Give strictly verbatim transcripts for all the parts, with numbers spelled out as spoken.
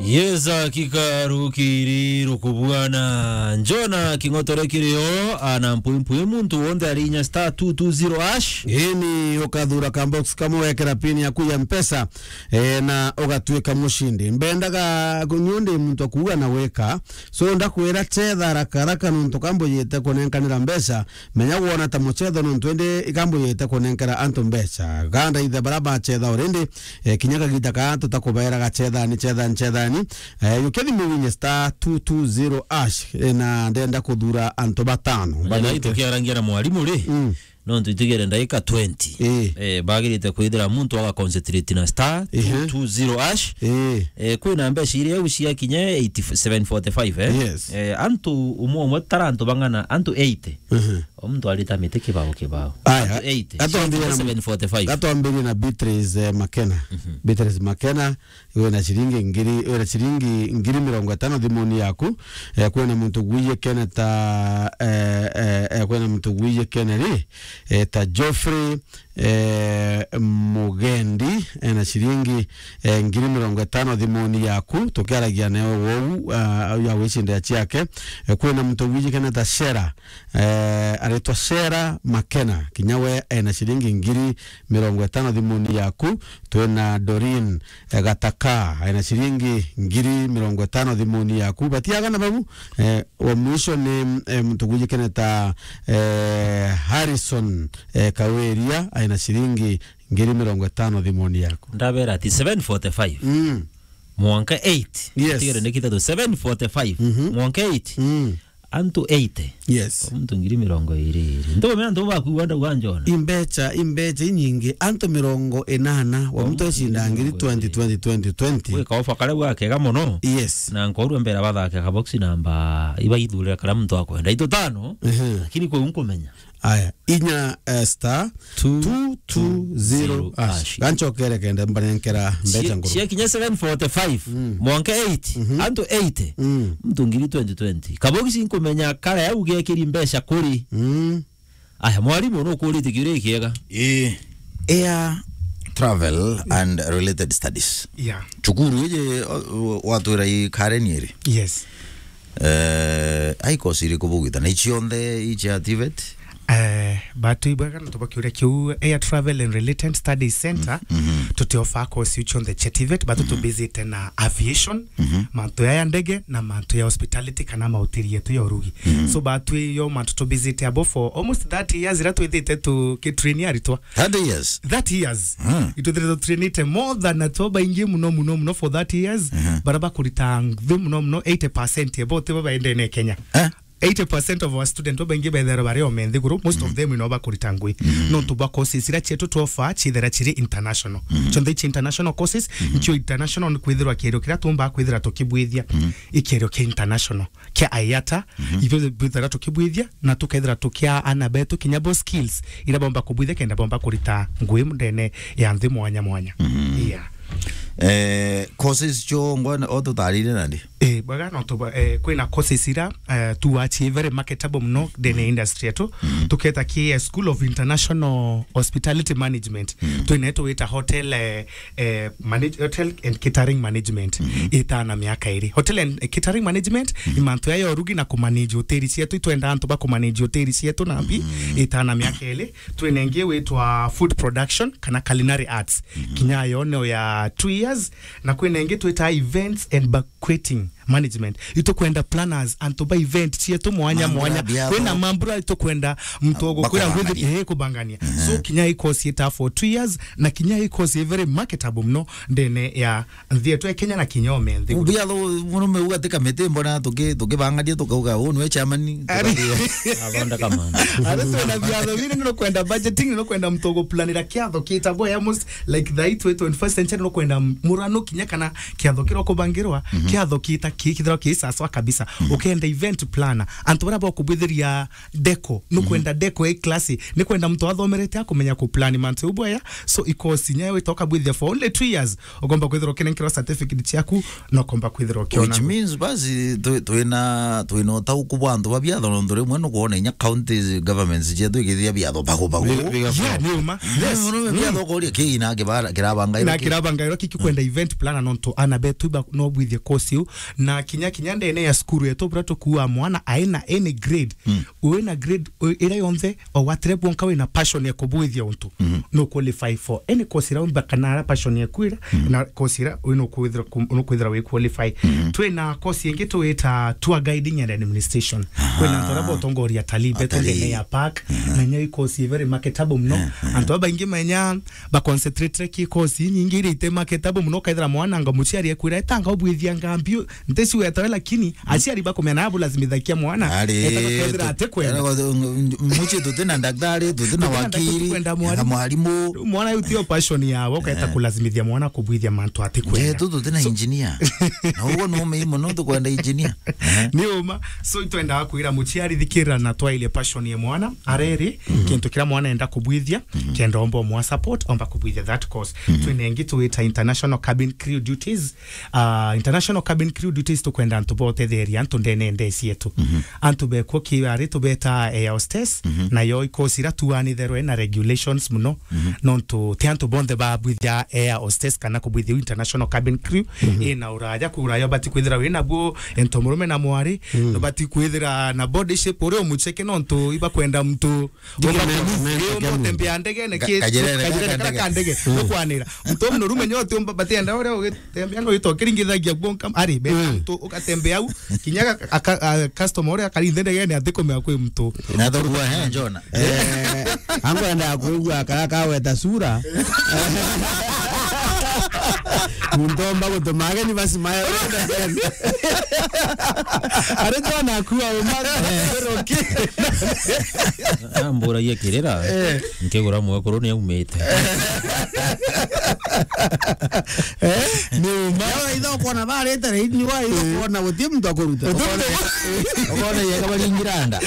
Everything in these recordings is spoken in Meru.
Yes, hakika rukiri rukubwana. Njona king'otore kirio, ana mpwi mpwi muntu wonthe ari inya star two two zero hash. Ini ukathura ka box kamwe wekera pin yaku ya Mpesa, eh, na ugatuika mushindi. Mbendaga ku-, ni undi muntu akuuga na weka. So, ndakwira chetha haraka haraka nontu kambujite kunenkanira mbeca. Menya wona ta muchetho nontu indi ikambujite kunenkera antu mbeca. Ganda ithe bara bachetha already, eh, kinya kagita ka tutakubaira gachethani, chethani, chethani. Eh, yukia thimu winye star two two zero hash, eh, na ndenda kuthura antu batano. Menya nai tukiarangia na mwarimu ri, mm, nontu itigere ndaika twenty. Eh. Eh, bagirite kwithira muntu aga concentrate na star, ehe, two two zero hash. Eh. Eh, kwina mbeca iria u cia kinya eighty, seven forty-five, eh? Yes. Eh, antu umwe umwe tara antu bang'ana, antu eighty. Mhm. O muntu arita miti kibao kibao. Aya, antu eighty. Gatwambirie na, seven forty-five. Gatwambirie na Beatrice, eh, Makena. Mhm. Beatrice Makena, wina ciringi ngiri, wina ciringi ngiri mirongo itano thimuni yaku. Eh, kwina muntu gwijikene ta, eh, eh, eh, kwina muntu gwijikene ri, eh, ta Geoffrey, eh, Mugendi, ena ciringi, eh, ngiri mirongo itano thimuni yaku, tukiaragia nawe wou, ah, au ya gwicindira ciake. Eh, kwina muntu gwijikene ta Shera, eh, aritwa Shera Makena, kinya we ena ciringi ngiri mirongo itano thimuni yaku. Twina Doreen, eh, Gataka, ena ciringi ngiri mirongo itano thimuni yaku. Batiagana bau, eh, wa mwisho ni, eh, muntu gwijikene ta, eh, Harrison, eh, Kaweria, ena ciringi ngiri mirongo itano thimuni yaku. Ndabera ati seven forty-five. Mm. Mwanka eight. Yes. Tigere ni kithatu, seven forty-five. Mhm. Mwanka eight. Mm. Antu eighty. Yes. Muntu ngiri mirongo iri iri. Ntumenya antu bakuwa ndauga Njona. Imbecha, imbecha inyingi. Antu mirongo inana. Wa muntu ecinda ngiri twenty, twenty, twenty, twenty. Gwika ofa karia gwakega mono. Yes. Na nkoru mbera bathake kaboxi namba ibaithurira karia muntu akwenda. Itutano. Mhm. Lakini kwi unkumenya. Aya, inya, eh, star two two zero hash. Ganchokere kenda mbanenkera mbecha nguru. Cia kinya seven forty-five, mm, mwanka eight, mhm, antu eighty, mm, muntu ngiri twenty twenty. Kabogisi nkumenya kara yau gekiri mbeca kuri. Mm. Aya, mwarimu, no kurite kiuria kiega. Ii. Air travel and related studies. Yeah. Cukuru iji, o, o, watwira i Karen iri? Yes. Eh, ai course iriku bugwita? Na icionthe icia TVET? Eh, batu ibwega na tubakiuria kiu, air travel and related studies center, mhm, tutiofa course iu cionthe cia TVET, batu, mhm, tubizite na aviation, mhm, mantu ya, ya ndege na mantu ya hospitality kana mahoteli yetu ya urugi. Mhm. So batu iyo mantu tubizite abo for almost thirty years ira twithite tukitrain aritwa. Thirty years? Thirty years. Hmm. Itwithirite tutrainite more than atwa baingi muno, muno, muno for thirty years. Mhm. Bara bakurita nthi muno, muno, eighty percent abo tibo baendene Kenya. Eh? Eighty percent of our students babaingi bethera bari ome nthiguru, most of, mhm, them ino bakurita ngui. Mhm. Nontu bwa courses ira cietu twofa ciithira ciri international. Mhm. Cionthe ici international courses, mhm, ncio international ni kwithirwa kierio kiria tumba kwithira tukibwithia, mhm, i kierio kia international. Kia IATA, mhm, ithu bwithira tukibwithia, na tukethira tukia ana betu kinya bo skills ira bomba kubwithia kenda bomba kurita ngui ndene ya nthi mwanya mwanya. Mhm. Yeah. Eh, courses cio ngwa o tutarire nandi? Eh, bwega no tu, eh, kwina courses ira, eh, tu achi very marketable muno ndene industry yetu. Mhm. Tuketa ki, eh, School of International Hospitality Management. Mhm. Twina twita hotel, eh, eh, manage-, hotel and catering management. Mhm. Itana miaka iri. Hotel and, eh, catering management, mhm, i mantu ya urugi na kumanage hoteli cietu, itwenda antu ba kumanage hoteli cietu na mbi. Mhm. Itana miaka iri. Twina ingi witwa food production kana culinary arts. Mhm. Kinya yo nio ya two years. Na kwina ingi twita events and banqueting management. Itukwenda planners, antu ba event cietu mwanya mwanya. Kwina mambura itukwenda muntu ogo kwira ngwithi, eh, kubangania. Mhm. So kinya i course ita for two years, na kinya i course i very marketable muno ndene ya nthi yetu ya Kenya na kinya ome nthi. Ubia tho murume uga tika miti mbona tuki-, tukibangania tukauga, "Uu niwe chairman." Athondeka mantu. Ari twina biatho bini, ni kwenda budgeting, ni kwenda muntu guplanira kiatho kitagwo ya mus-, like, the twenty-first century, ni kwenda murano kinya kana kiatho kiria kubangirwa, mhm, kiatho kita ki-, kithirwa ki sawa sawa kabisa. Mm. Ukenda event planner, antu baria bakubwithiria deco, nukwenda deco e class, ni kwenda muntu athomerete akumenya ku plan mantu jau bwega. So, i course inya wita ukabwithia for only two years, ukomba kwithirwa ukinenkerwa certificate ciaku, na ukomba kwithirwa ukiona. Which means basi twi-, twina, twina utauku bwa antu ba biatho, nontu rimwe nukwona inya county governments cietu ikithia biatho bagu bagu. Bi-, bigakorwo. Yeah, ni uma. Yes. Biatho ukoria ki na kibara kirabangairwa na ki? Kirabangairwa ki, ki kwenda event planner, nontu ana betu iba no bwithie course iu, na kinya, kinya ndene ya cukuru yetu, bura tukua mwana aina any grade, wina grade, u-, ira yonthe, o watire bwonka wina passion ya kubwithia untu, no qualify for any course ira umba kana ara passion yaku ira, na course ira wina ukwithira ku-, no kwithira wi qualify. Twina course ingi twita tour guiding and administration. Kwina antu aria botongoria atalii betu ndene ya park, na nyo i course i very marketable muno. Antu babaingi menya ba concentrate ki course inyingi iria ite marketable muno, ukaithira mwana anga muciari ekwira, "Etanga ubwithia ngambi, nteci wetawe," lakini aciari bakumenya na bulazimithakia mwana, ari, etaka kwethira tu-, ati kwenda. Muci tutina daktari, tutina wakiri, tukwenda mwarimu. Na mwarimu. Mwana yu tio passion yawe, ukaeta kulazimithia mwana kubwithia mantu ati kwenda. Ngetu tutina engineer. Na uguo no mei muno tukwenda engineer. Ni uma. So, itwendaga kwira muciari, thikira na twaile passion ya mwana, areri, kintu kira mwana enda kubwithia, kenda omba omwa support, omba kubwithia that course. Twina ingi twita international cabin crew duties. Ah, international cabin crew duties tukwenda antu botetheria antu ndene ndesi yetu. Antu bekwo ki ari tubeta air hostess, na yo i course ira tuanitherwe na regulations muno, nontu ti antu bonthe babwithia air hostess kana kubwithia international cabin crew. Ina uraja, ku uraja ubati kwithira wina buo, ento murume na mwari, ubati kwithira na body shape uri umucheke, nontu ibakwenda muntu Ndike menu, menu, menu, mutembea ndegene, kajirene kajirene kara ka ndege. Ukwanira. Muntu munoru menya uti umba batienda uria ugitembea ngo ito kiringithagia bwonka. Ari, be muntu ukatembea au. Kinya aka, aka, a, customer uria akari ndegene ati kumea kwi muntu. Na thogua he Jona. Eh, ango enda kuigua kara kaweta sura. Muntu omba gutuma ageni basi maya. Ari Jona akua uma. Roki. Amburagia kirira, nkigura mwekuru ni aumite. Ni uma. Yo itho kona barite ri, ni wa itho kona guti muntu akuruta. Ukona yeka baringiranda.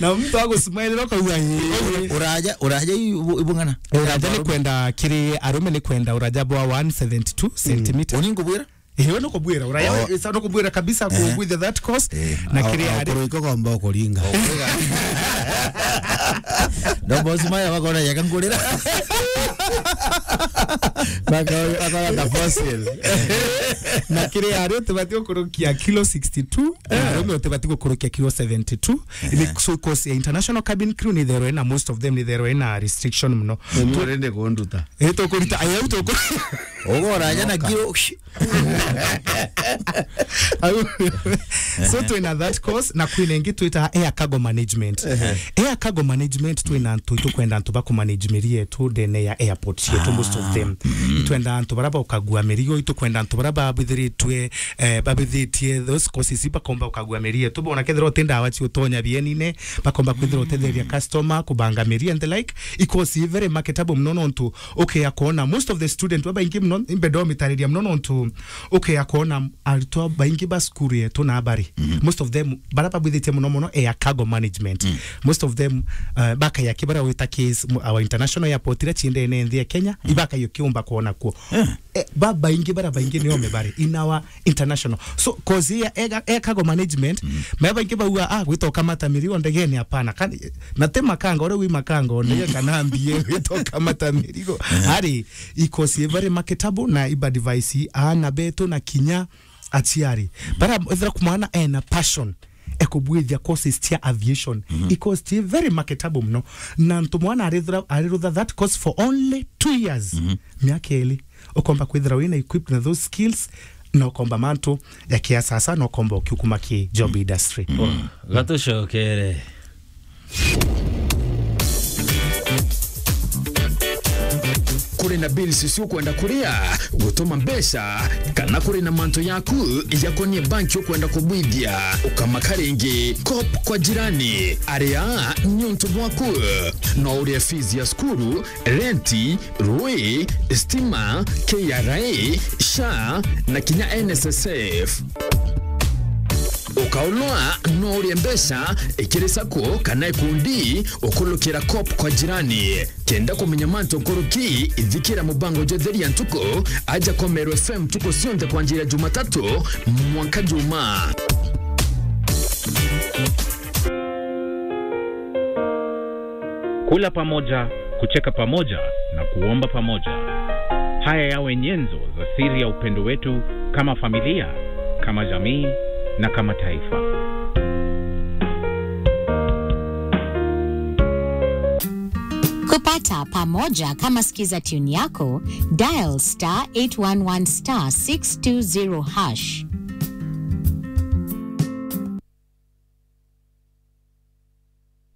Na muntu agusmailira ukauga, "Ii." Uraja, uraja ibu-, ibung'ana. Uraja ni kwenda kiri arume ni kwenda uraja bwa one seventy two centimeter. Uni nkubwira? Eh, we nukubwira, uraya we, isa nukubwira kabisa kugwithia that course, na kiri ari. Kuruiko komba kuringa. No, boss maya bakora yeka nkurira. Baka-, bakora ta fossil. Na kiri ari utibati gukurukia kilo sixty two, na arume utibati gukurukia kilo seventy two. Ni so course ya international cabin crew ni there na most of them ni there na restriction muno. Murende kunduta. Eh, tukurita, ayo tuku- Ugora jana kilo. So twina that course, na kwina ingi twita air cargo management. Air cargo management twina antu itukwenda antu ba kumanage miri yetu ndene ya airport yetu, most of them. Itwenda antu bara baukagua mirigo, itukwenda antu bara babithiritwe, eh, babithitie those courses bakomba ukagua miri yetu. Bona kethira uti ndawa cia utonya bienine, bakomba kwithira utetheria customer, kubanga miri and the like. I course i very marketable muno nontu ukea kwona most of the student babaingi muno, imbe ndomitariria muno nontu ukea kwona aritwa baingi ba cukuru yetu na bari. Most of them, bara babwithitie muno muno air cargo management. Most of them, uh, bakaya ki bara wita case, mu-, our international airport ira ciendene nthi ya Kenya, ibakayo kiumba kwona kuo. Eh, babaingi bara baingi nio me bari in our international. So, course ya air, air cargo management, me baingi bauga, "Ah, gwita ukamata mirigo ndegene, hapana." Kani, na ti makanga, uria wi makanga o ndege kana mbie, gwita ukamata mirigo. Ari, i course i very marketable na iba advice ana betu na kinya aciari. Bara ethira ku mwana ena passion, ekubwithia courses cia aviation. I course ti very marketable muno. Na ntu mwana arithira, arirutha that course for only two years. Miaka iri. Ukomba kwithira wina equipped na those skills, na ukomba mantu ya kiasasa, na ukomba ukiukuma ki job industry. Gatucokere. Kuri na bills cio ukwenda kuria, gutuma mbeca, kana kuri na mantu yaku yakonie banki ukwenda kubwithia, ukamaka ringi. Coop kwa jirani, aria niuntu bwaku. No urie fees ya cukuru, renti, rui, stima, K R A, SHA, na kinya N S S F. Ukaulwa no urie mbeca ikiri sacco kana ikundi ukulukira Coop kwa jirani. Kenda kumenya mantu nkuruki, ithikira mubango jwa Theria Ntuku, aja kwa Meru F M ntuku cionthe kwanjira Jumatatu mwanka Juma. Kula pamoja, kucheka pamoja na kuomba pamoja. Haya yawe nyenzo za siri ya upendo wetu kama familia, kama jamii na kama taifa. Kupata pamoja kama skiza tune yako, dial star eight one one star six two zero hash.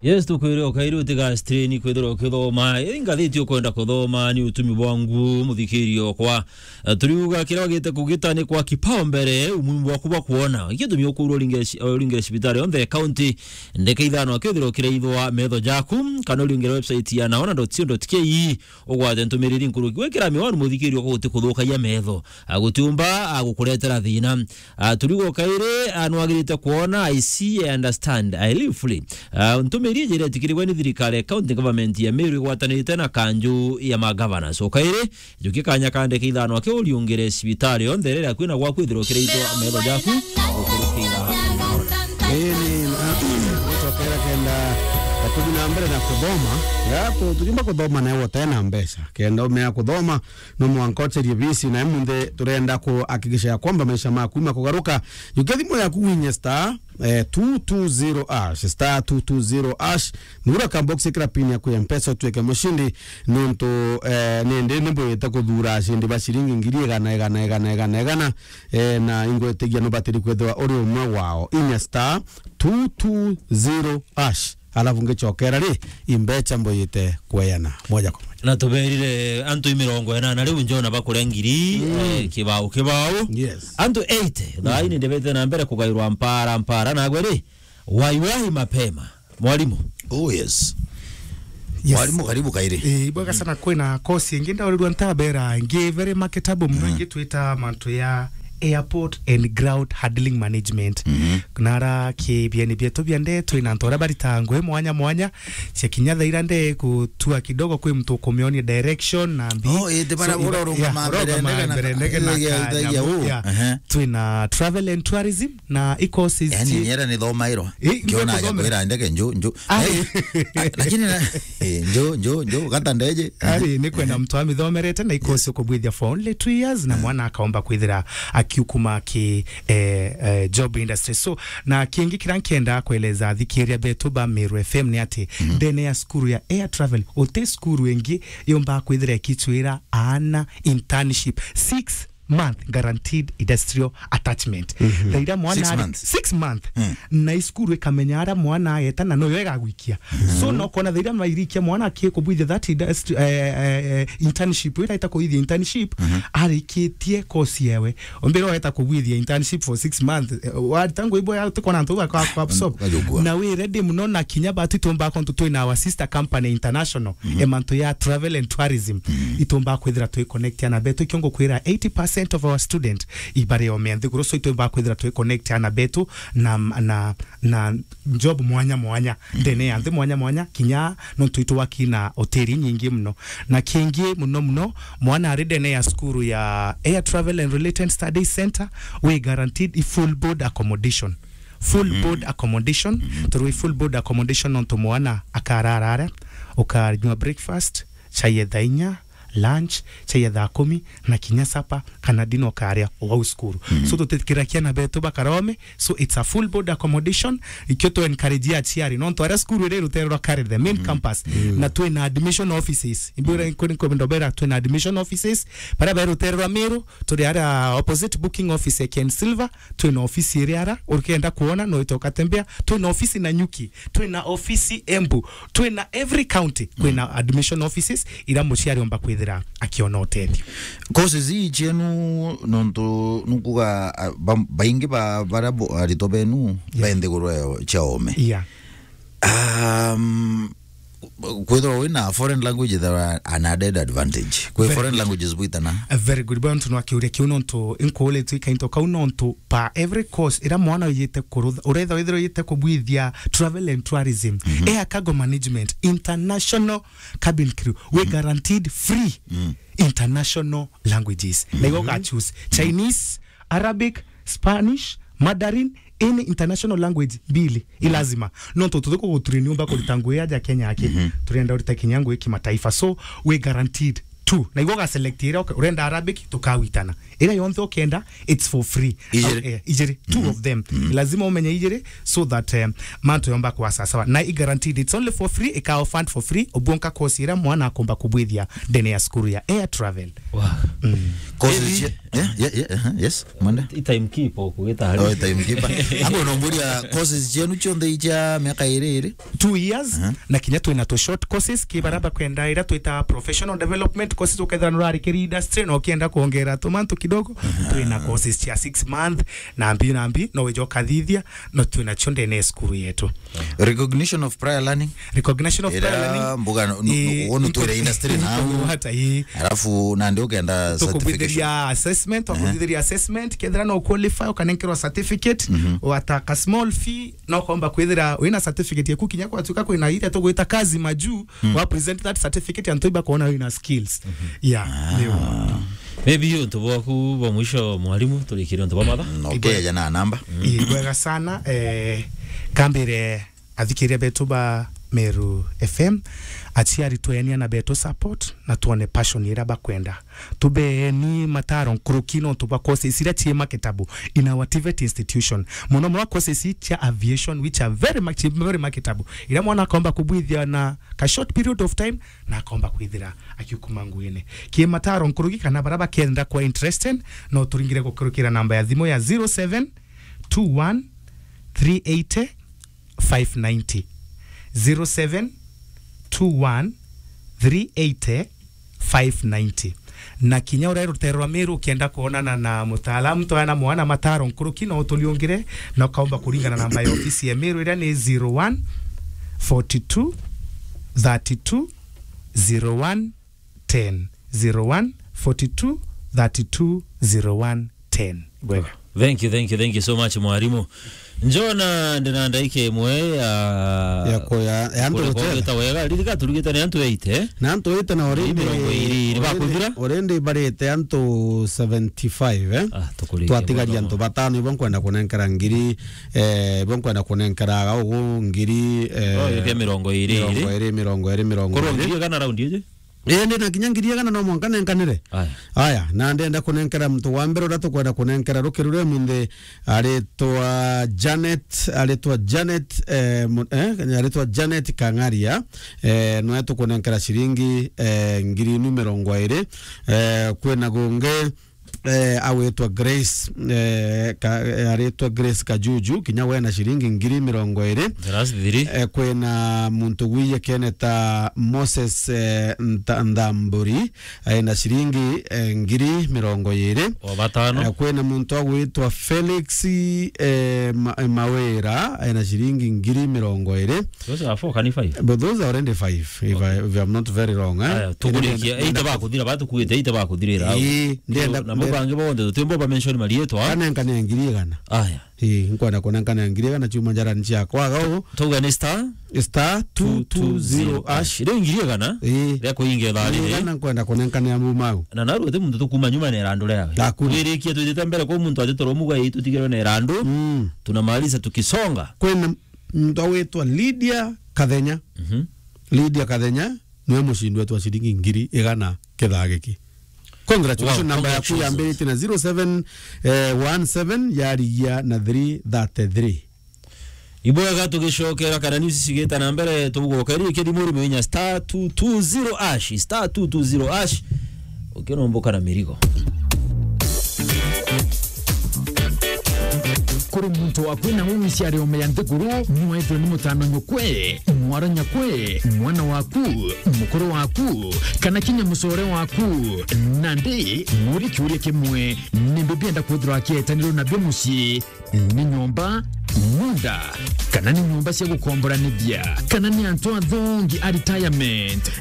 Yes, tukwire ukairi utiga strain kwithirwa ukithoma. Ii ngathiti ukwenda kuthoma ni utumi bwangu, muthikirio kwa. Eh, turiuga kiria wagite kugita ni kwa kipaumbere, umuhimu bwaku bwa kuona. Gitumi ukurwa uringire ci-, uringire cibitari yonthe ya county, ndeke ithano akethirwa ukiraithwa metho jaku, kana uringire website ya naona dot co dot K E, ugwate ntumiriri nkuruki. Gwikira miwani muthikirio kwa gutikuthukagia metho, ah, gutiumba, ah, gukuretera thina. Ah, turigo kairi, ah, nwagirite kuona, I see, I understand, I live free. Ah, ntumiri iji iretikirigwe ni thirikari ya county government ya Meru igwatanirite na kanju ya magavana. So kairi, juki kanya kandeke ithano akiuriungire cibitari yonthe iria kwina gwaku ithirwa ukiraitwa metho jaku, gukurukira. Ii ni, ah, gucokera kenda tuthi na mbere na kuthoma. Ya, tu-, turiumba kuthoma nawe utena mbeca. Kenda umea kuthoma, no mwanka ucherie bisi, na imunthe turenda kuhakikisha ya kwamba maisha maku makugaruka. Jukia thimu yaku winye star, eh, two two zero hash, star two two zero hash, nugura ka box, ikira pin yaku ya Mpesa, utuike mushindi, nontu, eh, nindi ni mbwite kuthura ashindi ba ciringi ngiri igana, igana, igana, igana, igana, eh, na ingwitigia nubatiri kwithirwa uri umwe wao. Inya star two two zero hash. Alafu ngicokera ri, imbecha mbuyite kweana moja kwa moja. Na tuberire antu i mirongo inana riu njona bakuria ngiri, mm, eh, kibao, kibao. Yes. Antu eighty, thaa, mm, ini ndibete na mbere kugairwa mpara, mpara, nagwe ri, waiwahi mapema. Mwalimu. Oh, yes. Yes. Mwalimu, karibu kairi. Eh, ibwega sana, kwina course ingi ndaurirwa ntabera, ingi very marketable muno, mm, ingi twita mantu ya Airport and Ground Handling Management. Mhm. Nara ki bieni bietu bia nde, twina antu aria baritaga ngugi mwanya mwanya, cia kinya thaira nde gutua kidogo kwi muntu ukumionia direction na mbi. Oh, ii, ti bara so, iba-, urarungama, yeah, mbere urarungama ndege na mbere ndege na ii, ii, ka-, ii, nyamu, uu, yeah. Ehe. Twina travel and tourism na i courses. Yani, ci- niera ni thomairwa. Ii, ngiona ndio aja kuthomera. Kwira ndege nju, nju. Ai. Eh, lakini na, eh, nju, nju, nju, gata ndeje. Ari, ni kwenda muntu amithomerete na i course, yes, ukubwithia for only two years, na, mm, mwana akaomba kwithira akiukuma ki, eh, eh, job industry. So, na kingi kiria nkienda kueleza athikiria betu ba Meru F M ni ati, mhm, ndene ya cukuru ya air travel, uti cukuru ingi yomba kwithira ikicwira aana internship six month guaranteed industrial attachment. Mhm. Thaira mwana six ari months. Six month. Mm. Na i cukuru ikamenya aria mwana ageta na noyo igagwikia. So, no kona thaira mairikia mwana akikubwithia that industry, eh, eh, eh, internship, ira ita kuithia internship, mhm, arikitie course yewe. Ombira weta kubwithia internship for six months, eh, warita ngugi bwa utikona antu ba kwa, kwa absorb. Ukajugua. Na wi ready muno na kinya batu itumba kontu twina our sister company international, mhm, e mantu ya travel and tourism. Mhm. Itumba kwithira twi connect ana betu, kiongo kwira eighty percent of our student ibare ome nthiguru, so itumba kwithira twi connect ana betu na, na, na job mwanya mwanya, mhm, ndene ya nthi mwanya mwanya, kinya nontu itwaki na hoteli nyingi muno. Na kingi muno muno, mwana ari ndene ya cukuru ya Air Travel and Related Studies Center, wi guaranteed i full board accommodation. Full, mhm, board accommodation, mhm, tondu i full board accommodation nontu mwana akarara aria, ukanyua breakfast, chai ya thaa inya, lunch, chai ya thaa kumi, na kinya supper, kana dinner ukaria o au cukuru. Mhm. So, tutikirakia na betu bakarome. So, it's a full board accommodation. Ikio tu encourage aciari, nontu aria cukuru iri rutere rwa Kare, the main, mhm, campus. Mhm. Na twina admission offices. Imbira, mhm, kuri nkwenda bera, twina admission offices. Bara be rutere rwa Meru, turi aria opposite booking office ya Ken Silver. Twina ofisi iri ara, urikenda kuona, no itoka tembea. Twina ofisi Nanyuki, twina ofisi Embu, twina every county, kwina, mm, admission offices, ira muciari omba kwithira ira akiona utethio. Courses ii cienu nontu nukuga, a, ba-, baingi ba bara bo-, aritwa benu, yeah, be nthiguru ya, cia ome. Yeah. Um, kwithirwa wina foreign language, there are an added advantage. Kwi foreign languages bwitana? A very good. Bwana, ntu nwakiuria kiu nontu inkuuritwe ikainto kau nontu pa every course ira mwana uyite kurutha, uretha withirwa uyite kubwithia travel and tourism, air cargo management, international cabin crew, we guaranteed free international languages. Na igo uga choose Chinese, Arabic, Spanish, Mandarin, any international language mbili, i lazima. Nontu tuthi kugutrain umba kurita ngui aja Kenya aki, turenda urita kinya ngui kimataifa. So, we guaranteed two. Na igo uga select ira, okay, urenda Arabic, tukawitana. Ira yonthe ukenda, it's for free. Ijiri. Eh, ijiri, two of them. Lazima umenye ijiri, so that, eh, mantu yomba kwa sawa sawa. Na i guaranteed, it's only for free, ikawa fund for free, ubwonka course ira mwana akomba kubwithia ndene ya skuru ya air travel. Wow. Courses cia-, yeah, yeah, yeah, uh-huh, yes, mwende. I timekeeper ukugita hari. Oh, timekeeper. Abo nomburia courses cienu cionthe icia miaka iri iri? Two years, na kinya twina tu short courses, ki bara bakwenda ira twita professional development courses, ukethira nurarikiri industry na ukienda kuongera tumantu kidogo, twina courses cia six month, na mbi na mbi, no wija ukathithia, no twina cio ndene ya skuru yetu. Recognition of prior learning? Recognition of prior learning. Ira mbuga no, no, eh, wonu twire industry nau. Hata, eh. Alafu nandi ukenda certification. Tukubwithiria assessment, tukubwithiria assessment, kethira no qualify, ukanenkerwa certificate, wata ka small fee, no komba kwithira wina certificate yaku kinya kwatuika kwina iria tugwita kazi majuu, wa present that certificate and tuiba kuona wina skills. Yeah, ndio. Maybe untu bwaku bwa mwisho, mwalimu, turikire untu bwa matha. Mm, okay, ja na namba. Ii, bwega sana, eh, kambire athikiria betu ba Meru F M, aciari tueni ana betu support na tuone passion ira bakwenda. Tubeeni mataro nkuruki nontu bwa courses iria cii marketable in our TVET institution. Muno muno courses ii cia aviation, which are very much, very marketable. Iria mwana akomba kubwithia na ka short period of time, na akomba kwithira akiukuma nguine. Ki mataro nkuruki kana bara bakenda kwa interested, no turingire gukurukira namba ya thimu ya zero seven two one three eighty five ninety. Zero seven two one three eighty five ninety. Na kinya uria rutere rwa Meru ukienda kuonana na mutaalamu, twana mwana mataro nkuruki, no uturiungire, na ukaomba kuringana na namba ya ofisi ya Meru iria ni zero one forty two thirty two zero one ten. Zero one forty two thirty two zero one ten. Bwega. Thank you, thank you, thank you so much, mwarimu. Njona ndina ndaika imwe ya, ya kuya, ya antu kuri gucera. Kwogita wega, ririka turugite ni antu eight, eh? Na antu eight na already, mirongo iri, iri already, bakuthira? Already barite antu seventy five, eh? Ah, tukurikia. Twatigaria antu batano, ibo nkwenda kunenkera ngiri, eh, ibo nkwenda kunenkera ugu ngiri, eh, oh, yuke mirongo iri, mirongo iri, mirongo iri, mirongo iri. Korwo ngiri igana round iji? Ii, ndina kinya ngiri igana no mwanka nenkanire. Aya. Aya, na ndenda kunenkera muntu wa mbere uria tukwenda kunenkera rukiri ruria munthi, aritwa Janet, aritwa Janet, eh, mu-, eh, aritwa Janet Kang'aria, eh, nwe tukunenkera ciringi, eh, ngiri inu mirongo iri. Eh, kwina gungi, eh, agwitwa Grace, eh, ka-, eh, aritwa Grace Kajuju, kinya we na ciringi ngiri mirongo iri. The last three. Eh, kwina muntu gwiye keneta Moses, eh, Nta-, Nthamburi, eh, na ciringi, eh, ngiri mirongo iri. Wa batano. Eh, kwina muntu agwitwa Felix, eh, Ma-, eh, Mawira, eh, na ciringi ngiri mirongo iri. Those are four, can you five? But those are already five, if I, if I'm not very wrong, eh? Aya, tukurikia, eight bakuthira, batukuite eight bakuthirira au. Ii, ndenda, na mubangi bonthe tutimbo ba mention marietwa. Kana nkane ngiri igana. Aya. Ii, nkwenda kunenkana ngiri igana ciuma njarani ciakwa gau. Tuga ni star? Star two two zero hash. Riu ngiri igana? Ii. Ria kuingia thari. Ngiri igana nkwenda kunenkana ya mumau. Na narua ti muntu tukuma nyuma na irandu riawe. Hakuna. Wirikia twithite mbere kwa muntu atitoromuga ii tutigirwe na irandu. Mm. Tunamaliza tukisonga. Kwina muntu agwitwa Lydia Kathenya. Mhm. Lydia Kathenya niwe mucindi wetu wa ciringi ngiri igana kithaa giki. Congratulations. Wow, namba yaku congratulations. Yambiritie na zero seven one seven, yarigia na three thirty-three. Ibwega tugicokera kana news cigita na mbere, tuguka iri kiri muri mwinya star two two zero hash, star two two zero hash. Ukinomboka na mirigo. Kuri muntu waku na uu iciari ome ya nthiguru, nwaithwe ni mutano nyukwe, mwara nyakwe, mwana waku, mukuru waku, kana kinya mucore waku, nandi muri kiuria kimwe, nimbi bienda kwithirwa akietanirwo nabio mucii? Ni nyomba, munda, kana ni nyomba cia gukomboranithia, kana ni antu athongi a retirement?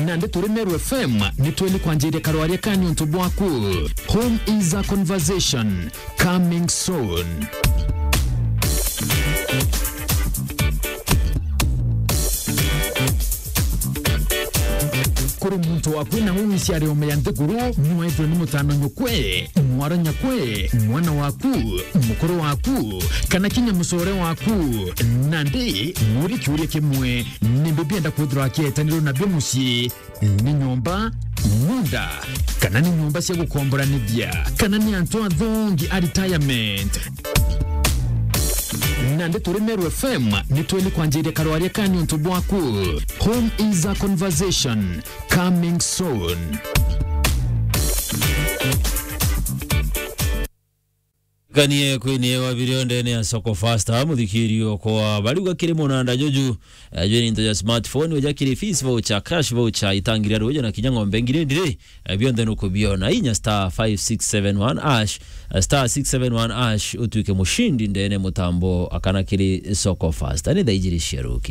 Nandi turi Meru F M, ni tweli kwanjiria karwaria ka niuntu bwaku. Home is a conversation. Coming soon. Kuri muntu waku na uu iciari ome ya nthiguru, nwaithwe ni mutano nyukwe, mwara nyakwe, mwana waku, mukuru waku, kana kinya mucore waku, nandi muri kiuria kimwe, nimbi bienda kwithirwa akietanirwo nabio mucii? Ni nyomba, munda, kana ni nyomba cia gukomboranithia, kana ni antu athongi a retirement? Nandi turi Meru F M, ni tweli kwanjiria karwaria ka niuntu bwaku. Home is a conversation. Coming soon. Kanie kwinie wa birio ndene ya Soko Fasta, muthikirio kwa bariuga kiri munanda juju, eh, jwe ni into ja smartphone, uja kiri fees voucher, cash voucher, itangiria rujo na kinya ng'ombe ngiri ndiri, eh, bionthe nukubiona. Inya star five six seven one hash, eh, star six seven one hash, utuike mushindi ndene mutambo akana kiri Soko Fasta. Ni thaa ijiri cia ruki.